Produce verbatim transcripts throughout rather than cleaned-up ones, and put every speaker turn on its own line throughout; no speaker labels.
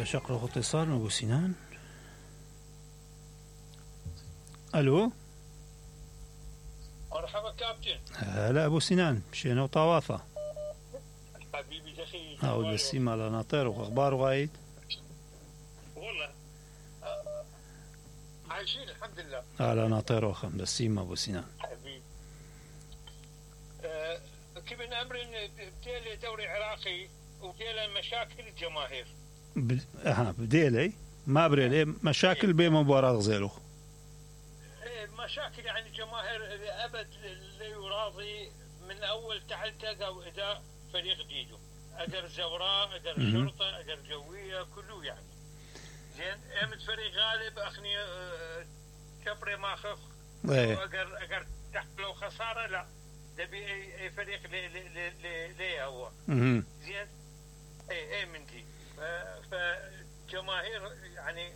شقرة اتصال من أبو سنان. ألو
مرحبا كابتن.
هلا أبو سنان، مشينا وطوافة
حبيبي دخي
أو السيما على ناطر وأخبار وايد
والله عايشين الحمد لله
على ناطر وخم بالسيما أبو سنان
حبيبي. أه كيف أمر بديل دوري عراقي وديل مشاكل الجماهير
ب... أها بديلي ما بريلي مشاكل بين مباراة غزيلو
مشاكل يعني الجماهير أبد لا يراضي من أول تعلتق أو إداء فريق جديده أجر زوراء أجر شرطة أجر جوية كله يعني زين أمد فريق غالب أخني كبري ما خف أجر أجر تحملوا خسارة لا تبي أي أي فريق لي لي لي لي هو زين أي أي من دي فجماهير يعني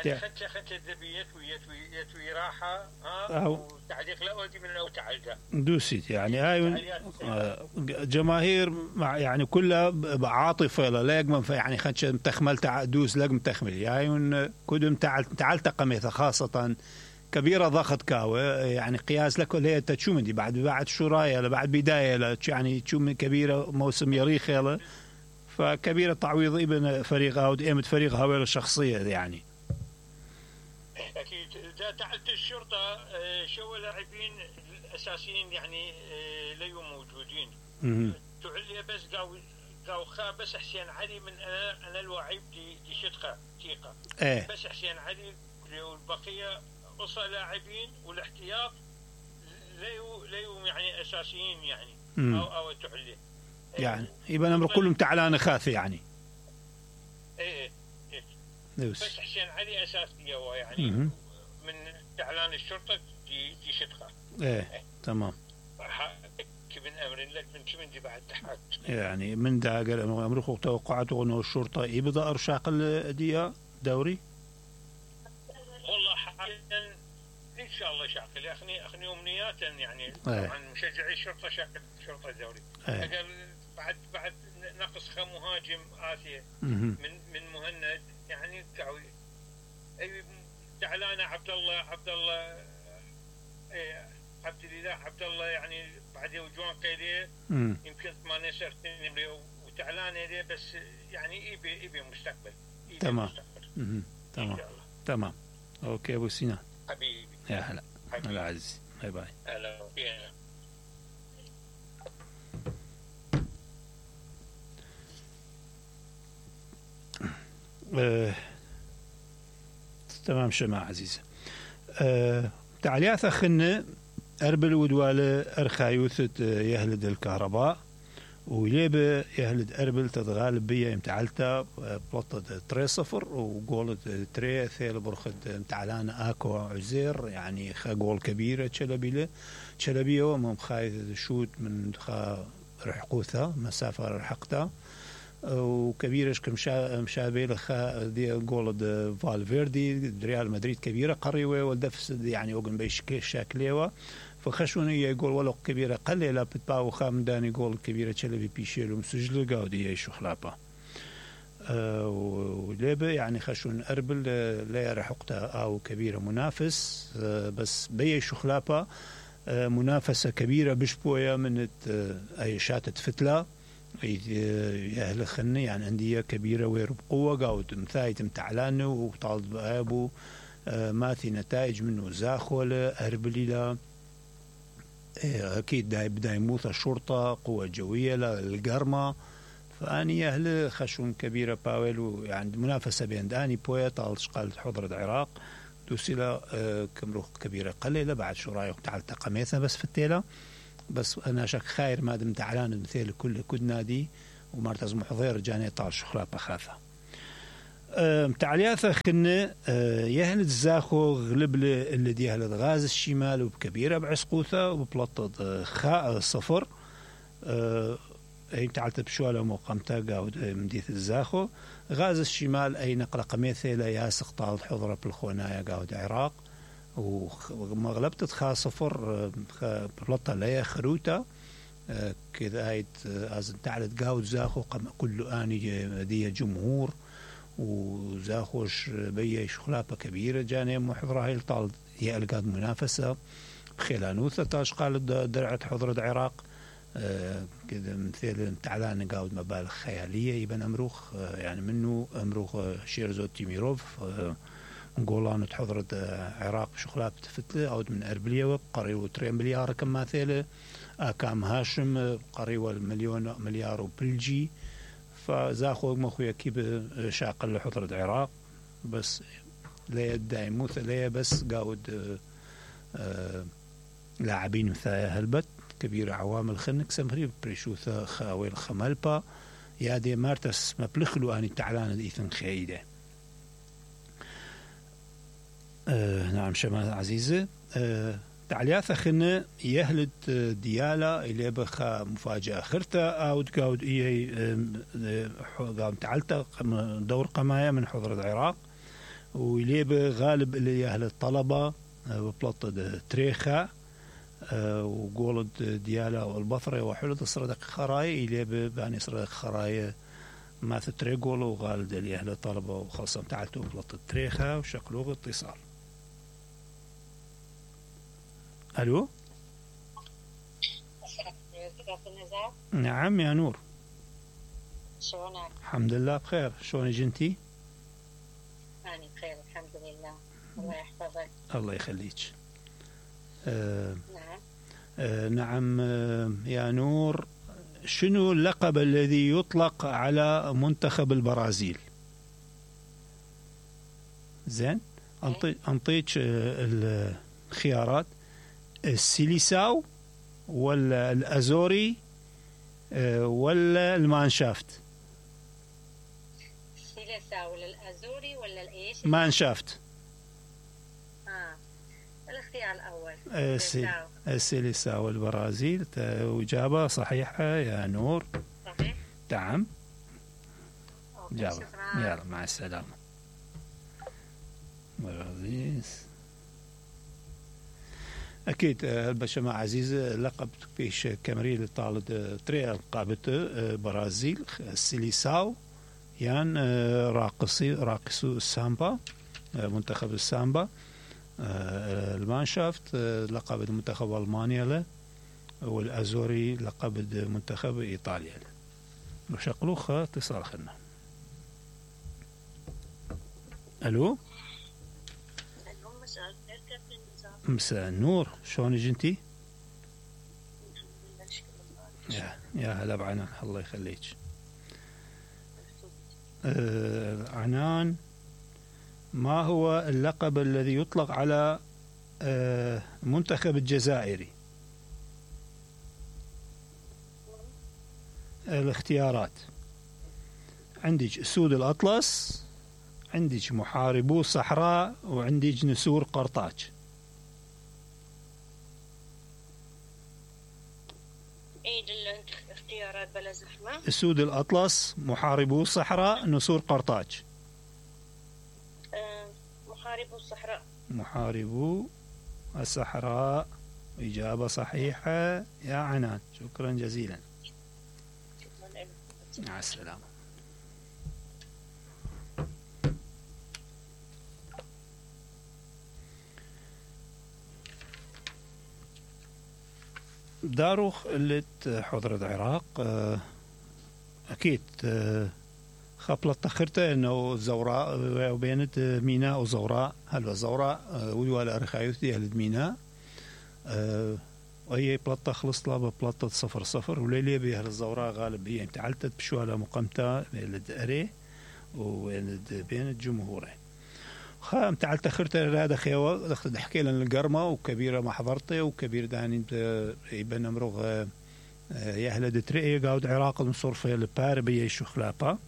يعني خدشه خدشه ذبي يتوي يتوي يتوي راحة ها وتعليق لا أودي من أو تعلقه
دوسيت يعني هاي جماهير مع يعني كلها عاطفة لا يقمن يعني خدشه تخمل دوس لقم تخمل يعني كدم تعال تعلتق مثل خاصة كبيرة ضغط كاوة يعني قياس لك اللي هي تشو من دي بعد بعد شرايا بعد بداية يعني تشو من كبيرة موسم يريخ يلا فكبيرة تعويض ابن فريق أو إمت فريق هاويل الشخصية يعني
أكيد إذا تعلت الشرطة شو لاعبين الأساسيين يعني ليوا موجودين تعلي بس قاو قاو خا بس حسين علي من أنا أنا الوعيب دي دي شتقة تيقة
ايه.
بس حسين علي والبقية قصة لاعبين والاحتياط ليوا ليوا يعني أساسيين يعني
مم.
أو أو تعلي
يعني يبقى الأمر كلهم تعلان خاث يعني
إيه
بس
حسين علي أساسية هو يعني
مم.
من إعلان الشرطة دي دي شتقة
إيه, إيه. تمام
كبن أمر لك من كمن دي بعد تحت
يعني من دا قال أمريكا توقعته أنه الشرطة يبدأ أرشاق الدية دوري
والله حاليا إن شاء الله شاقل أخني أخني أمنيات يعني
إيه.
طبعا مشجعي الشرطة شاقل شرطة دوري
إيه.
أقل بعد بعد نقص خ مهاجم آسيا
مم.
من من مهند يعني تعوي أي تعلان عبد الله عبد الله إيه عبد الله عبد الله يعني بعد وجوان قيليه يمكن ثمانية سنين وتعلان ليه بس يعني يبي يبي مستقبل يبي
تمام
مستقبل.
تمام تمام اوكي ابو سنان
حبيبي
يا هلا هلا عزيزي باي باي
هلا فينا
آه. تمام شماعة عزيزة آه. تعليات أخنا أربل ودوالة أرخايوثة يهلد الكهرباء وليبة يهلد أربل تتغالب بيا امتعالتا بلطة تري صفر وقولت تري ثيل برخد امتعالان آكو عزير يعني خا قول كبيرة تشلبيلة تشلبية ومم خايد شوت من خا رحقوثها مسافة رحقتها وكبيرش كمشا مشابه لخا دي جولد فالفيردي ريال مدريد كبيرة قريوة والدفس يعني اوغن بيش شاكليوة فخشوني يقول ولو كبيرة قليلة بتباو خام داني جول كبيرة تشلبي بيشيلو مسجل قاودي يشو خلابة أه وليبة يعني خشون أربل لا رحقتها أو كبيرة منافس أه بس بيشو خلابة أه منافسة كبيرة بشبوية من أي شاتة فتلة أهل خني يعني أندية كبيرة وير بقوة قاود مثايت متعلانه وطالب أبو ما في نتائج منه زاخولة أربليلا أكيد داي بداي موثى الشرطة قوة جوية للقرمة فأني أهل خشون كبيرة باولو يعني منافسة بين داني بويا طال شقال حضرة العراق دوسيلا كمروخ كبيرة قليلة بعد شو رايك تعال تقميثنا بس في التيلة بس أنا شك خير ما دم تعلان مثل كل كد نادي ومرتز محضر جاني طال شخرا بخافة أه تعليات خن أه يهلد الزاخو غلب اللي دي يهلد غاز الشمال وبكبيرة بعسقوثة وبلطة خاء صفر أه أي تعلت بشوالة مقامتا قاود مديث الزاخو غاز الشمال أي نقل قميثة لا ياسق طال حضرة بالخونايا قاود عراق ومغلبت خا صفر بلطة ليا خروتا كذا هايت أزن تعلت قاود زاخو كل آني دي جمهور وزاخوش بي شخلابة كبيرة جاني محضرة هاي الطال هي ألقاد منافسة بخيلانوثة تاش قال درعت حضرة العراق آه كذا مثل تعلان قاود مبالغ خيالية يبن أمروخ آه يعني منه أمروخ آه شيرزو تيميروف آه نقولان حضرة العراق شخلاب تفتلة أو من أربلية قريبا ترين مليار كما ثيلة أكام هاشم قريبا مليون مليار وبلجي فزاخو مخويا كيب شاقل لحضرة العراق بس لا يدعي موث لا بس قاود آه لاعبين مثايا هلبت كبير عوامل خنك سمري بريشوثا خاويل خمالبا يا دي مارتس مبلخلو أني تعلان إيثن خيدة آه نعم شمال عزيزة آه تعلياثا خنا يهلت ديالا إلي بخا مفاجأة خرتا أو تقاود إيه قام تعلتا دور قماية من حضرة العراق وإلي بغالب إلي يهل الطلبة ببلطة تريخا وقولد ديالا والبصرة وحلت الصردق خراي إلي باني صردق خراي ما تتريقول وغالد إلي أهل الطلبة وخاصة تعلتوا ببلطة تريخا وشكلوه اتصال. ألو نعم يا نور
شلونك؟
الحمد لله بخير شلونك انتي؟
أنا بخير الحمد لله الله يحفظك
الله يخليك آه
نعم
آه نعم آه يا نور شنو اللقب الذي يطلق على منتخب البرازيل؟ زين أنطيك آه الخيارات السيليساو ولا الأزوري ولا المانشافت؟
السيليساو ولا الأزوري ولا الإيش؟
مانشافت.
آه الاختيار الأول
السيليساو. السيليساو البرازيل إجابة صحيحة يا نور.
صحيح.
نعم.
يلا
يلا مع السلامة. برازيل. أكيد البشمة عزيزة لقب فيش كامريل طالد تريال قابته برازيل السيليساو يعني راقصي راقصو السامبا منتخب السامبا المانشافت لقب منتخب ألمانيا له والأزوري لقب منتخب إيطاليا له وشقلوخة اتصال خلنا. ألو مساء النور شلونك انتي؟ يا يا هلا بعنان الله يخليك. آه عنان ما هو اللقب الذي يطلق على آه منتخب الجزائري؟ الاختيارات عندك أسود الأطلس عندك محاربو الصحراء وعندك نسور قرطاج.
عيد الاختيارات بلا زحمة.
أسود الأطلس محاربو الصحراء نسور قرطاج.
أه محاربو الصحراء.
محاربو الصحراء إجابة صحيحة يا عنان شكرا جزيلا. مع السلامة. داروخ اللي حضرة العراق أكيد خبلت تخرته إنه زوراء وبينت ميناء وزوراء هلو زوراء ويوال أرخايوث دي أهل ميناء وهي بلطة خلص لها بلطة صفر صفر وليلي بأهل الزوراء غالب هي تعلتت بشوالة مقامتها بين أري وبين الجمهورين خام تعال تخرت هذا خيوة دخل حكي لنا القرمة وكبيرة ما حضرته وكبير داني يبنى مروغ يهلا دتري قاود عراق نصور في البار بيا شخلابا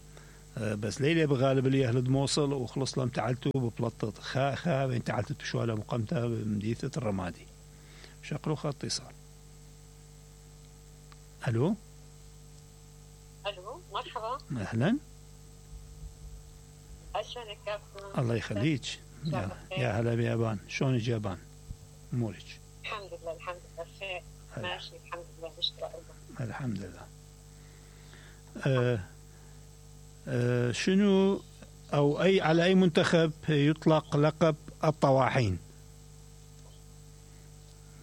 بس ليلة بغالب اللي يهلد موصل وخلص لهم تعلتوا ببلطة خا خا بين تعلتت بشوالة مقامتها بمديثة الرمادي شقلوا خط اتصال. الو
الو مرحبا
اهلا
شلونك كابتن؟
الله يخليك يا, يا هلا بيابان شلونك يابان امورك؟
الحمد لله الحمد لله بخير ماشي الحمد لله نشكر الله
الحمد لله. آه آه شنو أو أي على أي منتخب يطلق لقب الطواحين؟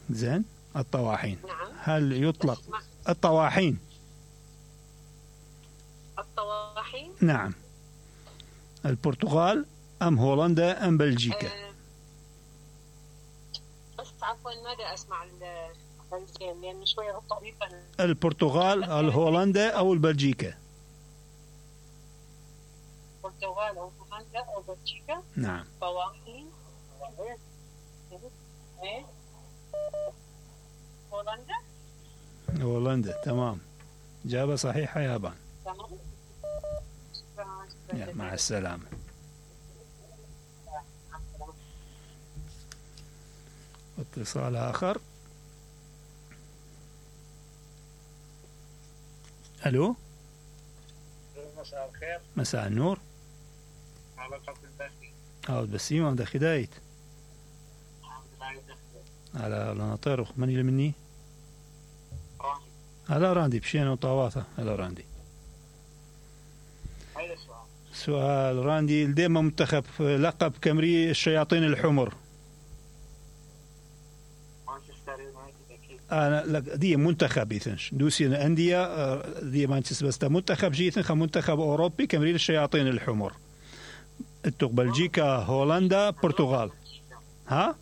زين، الطواحين.
نعم.
هل يطلق الطواحين؟
الطواحين.
نعم. البرتغال أم هولندا أم بلجيكا؟
أه بس عفوا ماذا أسمع البلجيكا لأن شوية طريقة.
البرتغال، الهولندا أو البلجيكا؟
البرتغال أو هولندا أو بلجيكا.
نعم.
طواحين. هولندا.
هولندا، تمام. إجابة صحيحة يا بان.
تمام.
يا مع السلامة. اتصال آخر. ألو.
مساء الخير.
مساء النور.
على قبل الداخلي.
عاود بسيمة عند خدايت. على ناطر من اللي مني؟
راندي.
على راندي بشينا وطواثة على راندي.
هذا السؤال.
سؤال راندي، دائما منتخب لقب كامري الشياطين الحمر.
مانشستر يونايتد أكيد.
أنا لك دي منتخب يثنش دوسي أندية دي مانشستر، بس منتخب جيثن منتخب أوروبي كامري الشياطين الحمر. التوق بلجيكا، هولندا، برتغال. ها؟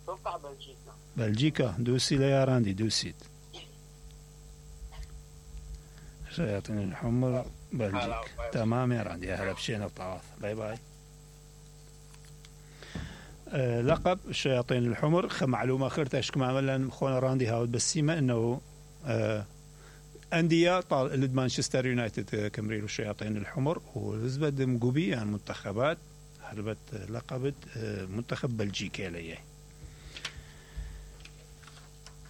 توقع بلجيكا.
بلجيكا دوسي ليا راندي دوسيت. شياطين الحمر بلجيكا. تمام يا راندي، أهلا بشينا الطواف. باي باي. أه لقب الشياطين الحمر خ معلومة خيرتاش كما عملنا خونا راندي هاود بسيمة انه أه أندية طال لد مانشستر يونايتد كمريل الشياطين الحمر وزبد مقوبي يعني منتخبات هربت لقبت أه منتخب بلجيكا ليه.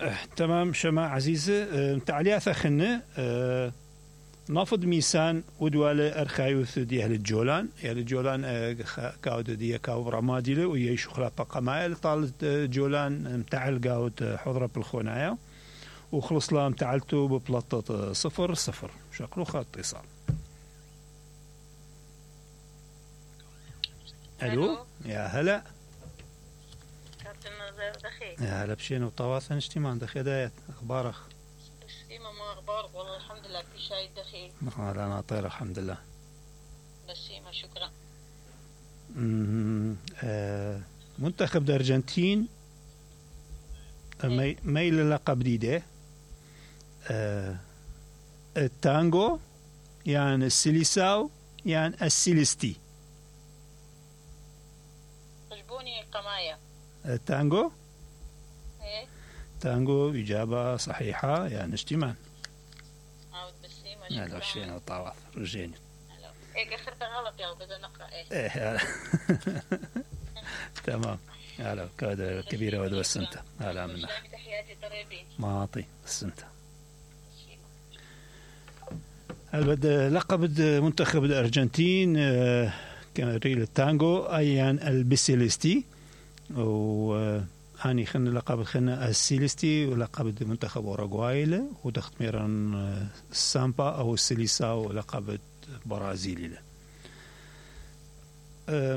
أه تمام شما عزيزة. أه تعليات خنة أه نافض ميسان ودوالة أرخايوث دي أهل الجولان. أهل الجولان أه كاود دي كاو رماديله ويشو خلاف قمايل طالت جولان متعل قاود حضرة بالخونايا وخلص لها متعلتو ببلطة صفر صفر. شكله خط اتصال. ألو يا هلا.
كابتن نظير دخيل.
يا هلا بشين وطواثن اجتماع دخي دايت أخبارك؟
بسيمة ما أخبارك؟ والله الحمد لله في شاي دخيل.
لا أنا طير الحمد لله.
بسيمة شكرا.
آه منتخب الأرجنتين مي ميل لقب جديدة. آه التانجو يعني السيليساو يعني السيليستي.
عجبوني قماية.
التانجو.
ايه
تانجو إجابة صحيحة يعني اجتماع.
عاود بسيمة شكرا.
هلا وشينا وطواف رجيني.
ايه اخرتها غلط يا بدنا نقرأ ايه.
ايه تمام. هلا كادر كبيرة ودو السنتة. هلا منا.
تحياتي طريبين.
معطي السنتة. هل بد لقب منتخب الأرجنتين كان ريل التانجو أيان البسيليستي و أني خلنا لقب خلنا السيليستي ولقب منتخب أوروغواي ودخت ميران السامبا أو السيليساو لقب برازيلي له.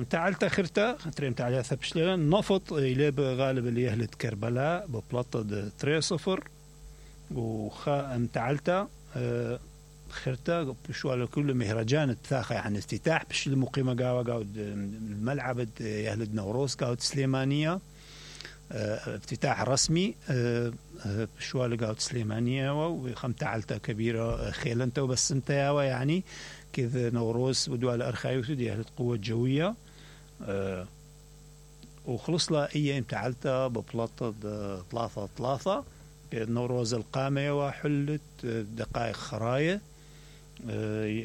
تعالت أخرتا تريم تعالى ثبشلنا نفط إلى بغالب اللي يهلت كربلاء ببلطة تري صفر وخا تعالتا خرتا بشو على كل مهرجان التاخي عن افتتاح بش المقيمة قاوة قاود الملعب يهلد نوروز قاود سليمانية افتتاح رسمي بشو على قاود سليمانية وخم تعالتا كبيرة خيلنتا وبس انتا يعني كذا نوروز ودوال أرخايوث دي أهل القوة الجوية أه وخلص لها أي امتعلتها ببلطة ثلاثة ثلاثة نوروز القامة وحلت دقائق خراية أه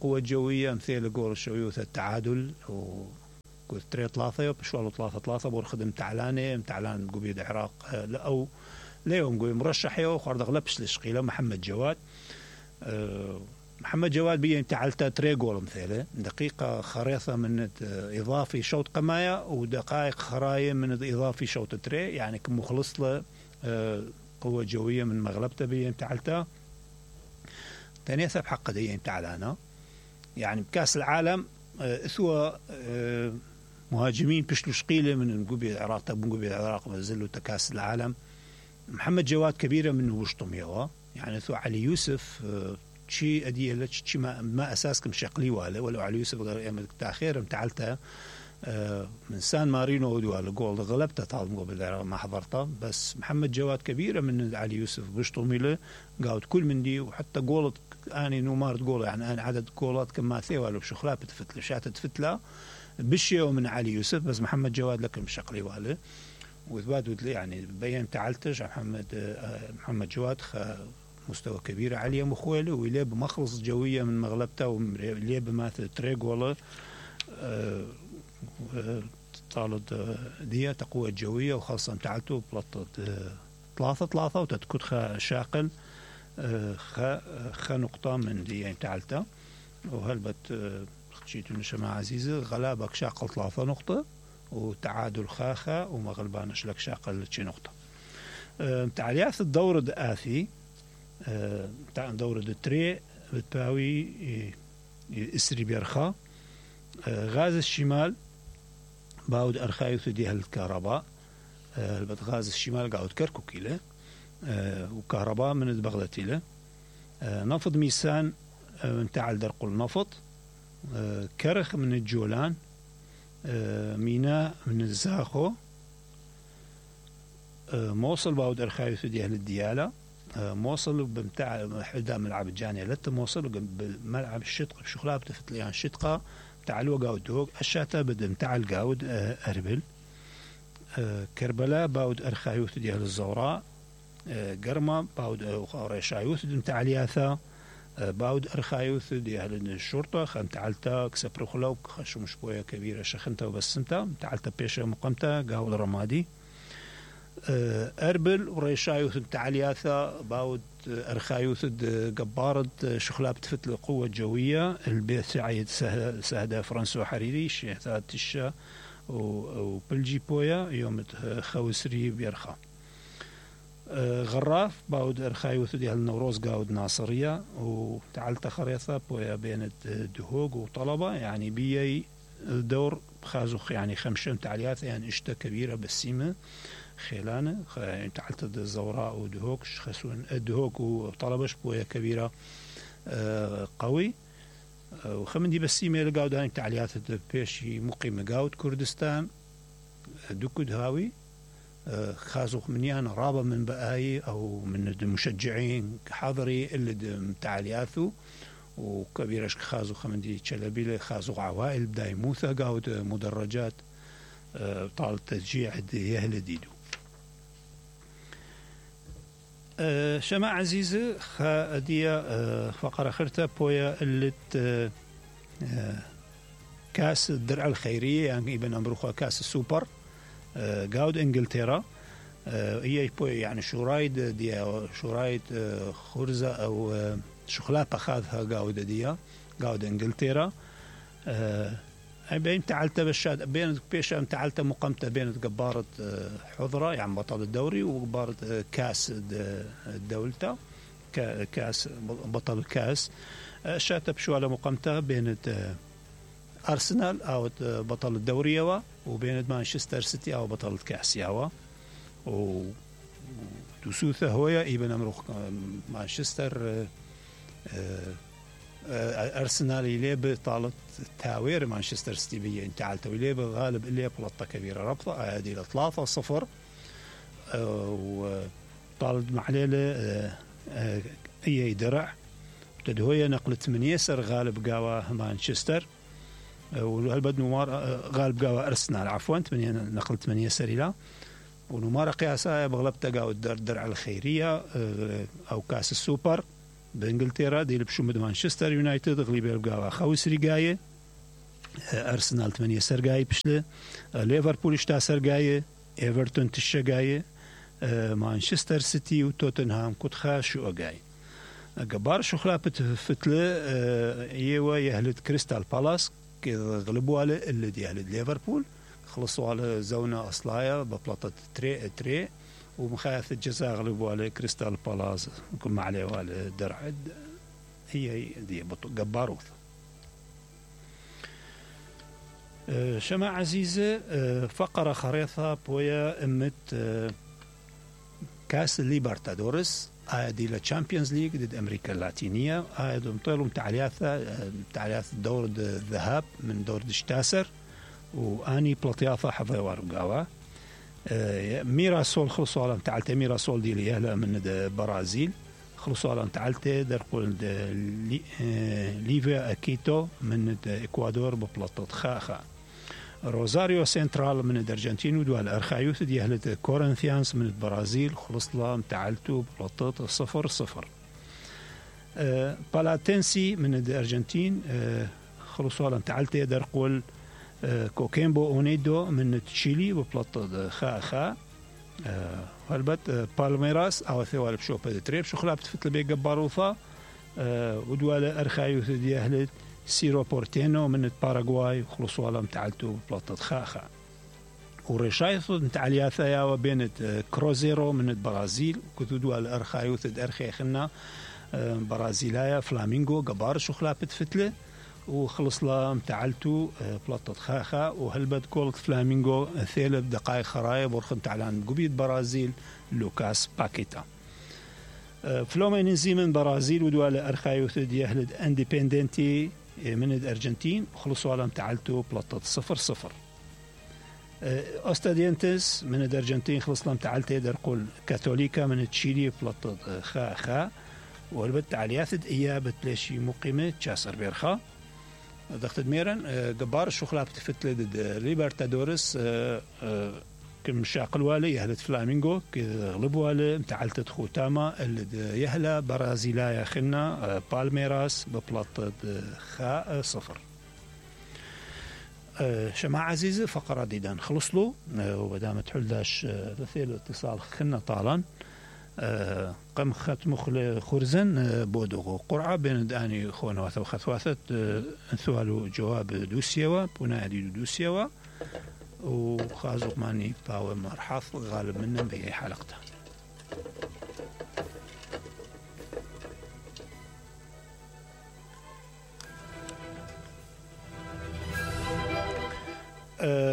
قوة جوية مثل قول الشويوث التعادل وقلت تري ثلاثة بشوالو ثلاثة ثلاثة بورخدم تعلانة متعلان قبيد عراق أه أو ليوم قوي مرشح يو خارد أغلبش لشقيلة محمد جواد أه محمد جواد بيه تعالتا تري جول مثله دقيقة خريطة من إضافي شوط قماية ودقائق خراية من إضافي شوط تري يعني كمخلص له قوة جوية من مغلبته بيه تعالتا تاني ثب حق ديه تعالانا يعني بكاس العالم اثوى مهاجمين بشلو شقيلة من نقوبي العراق تب نقوبي العراق مازلوا تكاس العالم محمد جواد كبيرة منه وشطم يوا يعني ثو علي يوسف شي أديه لك شي ما, ما أساسكم شقلي ولا ولو علي يوسف غير تأخير متعلته من سان مارينو ولا جول غلبته طال قبل ما حضرته بس محمد جواد كبيرة من علي يوسف بشطم له قاعد كل من دي وحتى جولت أنا نومار تقول يعني أنا عدد جولات كما ثي ولا بشخلات بتفتله شات تفتله بشي ومن علي يوسف بس محمد جواد لكن شقلي ولا وثبات يعني بين تعلتج محمد محمد جواد مستوى كبير عالية مخوله ويليه بمخلص جوية من مغلبته ويليه بماثل تريق والله طالد دي تقوى الجوية وخاصة تعلته بلطة ثلاثة ثلاثة وتتكت خا شاقل خا خا نقطة من دي يعني تعلته وهلبت خشيت نشمع عزيزة غلابك شاقل ثلاثة نقطة وتعادل خاخا ومغلبانش لك شاقل شي نقطة تعليات الدور الآثي تاع دورة التري بتباوي إسري بيرخا غاز الشمال باود أرخايوث ديها الكهرباء غاز الشمال قاعد كركوكي له وكهرباء من بغدتي له نفض ميسان تاع درقل نفط كرخ من الجولان ميناء من الزاخو موصل باود أرخايوث ديها الديالة موصل بمتاع حدا ملعب الجانية لتا موصل بملعب الشتقة بشغلها بتفت ليان الشتقة بتاع الوقاود دوغ الشاتا بدا متاع القاود أربل كربلاء باود أرخايوث ديال الزوراء قرمة باود ريشايوث متاع الياثا باود أرخايوث ديال الشرطة خمتعلتا كسبرخلو خشو مشبوية كبيرة شخنتا وبسمتا متعلتا بيشة مقامتا قاود رمادي أربل وريشايوث التعلياثة باود أرخايوث قبارد شخلاب تفتل قوة جوية البيت سعيد سهدة فرنسو حريري شيخات تشا وبلجي بويا يوم خوسري بيرخا غراف باود أرخايوث دي النوروز قاود ناصرية وتعلت خريطة بويا بين دهوق وطلبة يعني بيي الدور خازوخ يعني خمشة تعليات يعني اشتا كبيرة بالسيمة خيلانة يعني تعلت الزوراء ودهوك خسون دهوك وطلبش بويا كبيرة قوي وخمن دي بسيمة لقاود هاي تعليات بيشي مقيمة قاود كردستان دكود هاوي خازوخ منيان رابة من بقاي أو من المشجعين حضري اللي تعلياته وكبيرش خازوخ من دي تشلبيلة خازوخ عوائل بداي موثى قاود مدرجات طال تشجيع يهل ديدو أه شماع عزيزة خادية أه فقرة خرطة بويا اللي أه كاس الدرع الخيرية يعني ابن أمروخا كاس السوبر أه قاود إنجلترا أه هي بويا يعني شورايد دي شورايد أه خرزة أو أه شخلات أخذها قاود دي قاود إنجلترا أه بين تعلت بالشاد بين بيشا تعلت مقامته بين قبارة حضرة يعني بطل الدوري وقبارة كاس الدولة كاس بطل الكاس شات بشوالة مقامته بين أرسنال أو بطل الدوري يوا وبين مانشستر سيتي أو بطل الكاس يوا وتسوثه هويا ابن أمروخ مانشستر أرسنال يلعب طالت تاوير مانشستر سيتي بيه انت على يلعب غالب اللي بلطة كبيرة ربطة هذه ثلاثة صفر وطالت معليلة اي درع تدهوية نقلت من يسر غالب قاوة مانشستر وهالبد نمار غالب قاوة أرسنال عفوا نقلت من يسر إلى ونمار قياسها بغلبتها قاوة الدرع الخيرية أو كاس السوبر بانجلترا دي لبشو مد مانشستر يونايتد غليبي بقاوة خوسري قاية أرسنال ثمانية سرقاية بشله ليفربول اشتا سرقاية ايفرتون تشا قاية مانشستر سيتي وتوتنهام كتخا شو قاية قبار شو خلابت فتلة يوا يهلد كريستال بالاس غلبوا على اللي دي يهلد ليفربول خلصوا على زونة أصلاية ببلاطة تري تري ومخايف الجزاء غلبوا على كريستال بالاس كم عليه على درع هي دي جباروث شما عزيزة فقرة خريطة بويا امت كاس ليبرتادورس دي للتشامبيونز ليج ضد امريكا اللاتينية. هاي مطيلهم تعلياثة تعلياث دور الذهاب من دور الشتاسر واني بلطياثة حظي وارقاوة. ميراسول خلصوا على تعلت ميراسول دي ليهلا من برازيل خلصوا على تعلت درقول ليفيا اكيتو من اكوادور ببلطة خاخا. روزاريو سنترال من الارجنتين ودوال ارخايوث دي اهل كورنثيانس من البرازيل خلص لها متعلتو بلطة صفر صفر. أه بالاتنسي من الارجنتين أه خلصوا على متعلتة درقول أه كوكيمبو اونيدو من تشيلي ببلطة خا خا. أه هلبت أه بالميراس او ثوال بشوبة تريب شخلا بتفتل بي قباروثا أه ودوال ارخايوث دي اهل سيرو بورتينو من باراغواي خلصوا على متعلتو بلطة خاخا. ورشايثو متعلياثا يا وبين كروزيرو من البرازيل كتودو على الارخايوث الارخي خنا برازيلايا فلامينغو قبار شخلا بتفتله وخلص لا متعلتو بلطة خاخا. وهلبت كولت فلامينغو ثلاث دقائق خرايب ورخن تعلان قبيد برازيل لوكاس باكيتا. فلوما ننزي من برازيل ودوال ارخايوث دي اهل انديبندنتي من الارجنتين خلصوا على متعلتو بلطة صفر صفر. أستادينتس من الارجنتين خلص لهم تعلتي درقول كاثوليكا من تشيلي بلطة خا خا. والبت علياثد إيابة بلاشي مقيمة تشاسر بيرخا ضغط ميرن قبار الشخلة بتفتل ضد ليبرتادورس كم شاقل والي يهلت فلامينغو كغلب والي متعلتت خوتاما اللي يهلا برازيلايا خنا بالميراس ببلطة خا صفر. شماعة عزيزة فقرة ديدان خلصلو وبدام تحلداش ثيل اتصال خنا طالا قم خت مخل خرزن بودغو قرعة بين داني خونواثة وخثواثة انثوالو جواب دوسيوا بنادي دوسيوا وخازق ماني باو مرحاف غالب منهم بأي حلقته.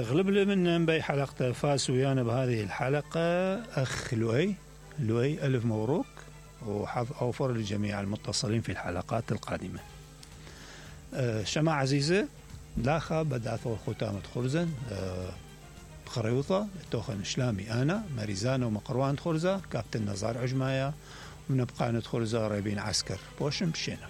غلب لي من بأي حلقة فاس ويانا بهذه الحلقة أخ لؤي. لؤي ألف مبروك وحظ أوفر لجميع المتصلين في الحلقات القادمة. شماعة عزيزة لاخا بدأت ختامة خرزن خريوطة توخن شلامي أنا ماريزانا ومقروان خرزة كابتن نزار عجمايا ونبقى ندخرزة ريبين عسكر بوشم شينا.